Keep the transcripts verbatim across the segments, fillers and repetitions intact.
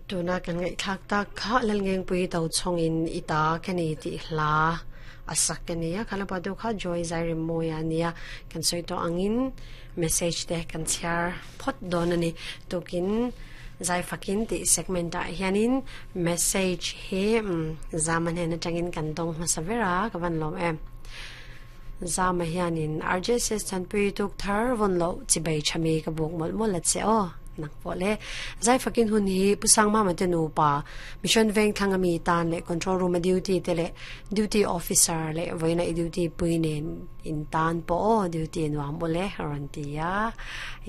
Tuna kan ngai thak tak kha lal ngeng pui to chong in ita kani ti hla asak kania khala pa do kha joy zai moya ania kan soi to angin message te kan chhiar phot don ani tokin zai fakin ti segment a hianin message he zaman hen atangin kan dong hmasavera ka van lom em zama hianin R J S chanpui tuk thar von lo chibai chami ka buk mol mol la che o nak po le zai fakin hun hi pusang ma ma te nu pa mission veng thanga mi tan le control room duty te le duty officer le voina duty puinen in tan po o duty nuam bole ran tia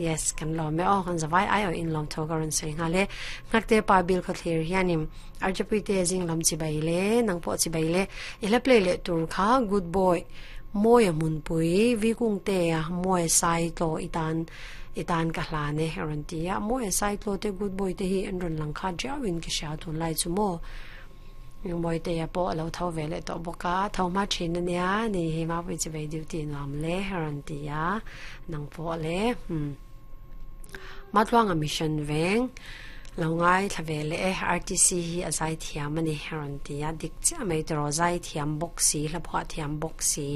yes kan lo me o kan zawai ai o in lom tho ka ran sei nga le ngak te pa bil kho thlir hianim R J P te jing lam chi bai le nang po chi bai le ile play le tur kha good boy moya mun pui vi kung te a moy sai to itan itan ka hla ne ran tia moya sai to te good boy te hi an ron lang kha jawin ki sha thun lai chu mo moi te ya po lo tho ve le to boka tho ma chin nia ni hi ma wi chi ve duty nuam le ran tia nang po le hm ma tluang a mission veng lo ngai thlave le R T C hi azai thiam ani ran tia dik cha mai tro zai thiam box si hla phwa thiam box si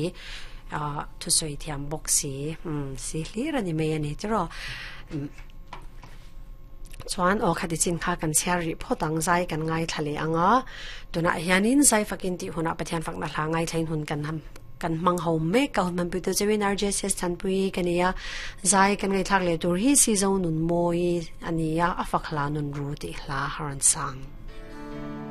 a thu soi thiam box si um si hlir ani mai ani tro chuan o khati chin kha kan chhiar ri photang zai kan ngai thlale anga tuna hianin zai fakin ti huna pathian fakna hla ngai thlain hun kan ham kan mang ho me ka hun man pu to chewin R J S chan pui kania zai kan ngai thak le tur hi si zo nun moi ania afakhla nun ru ti hla haran sang.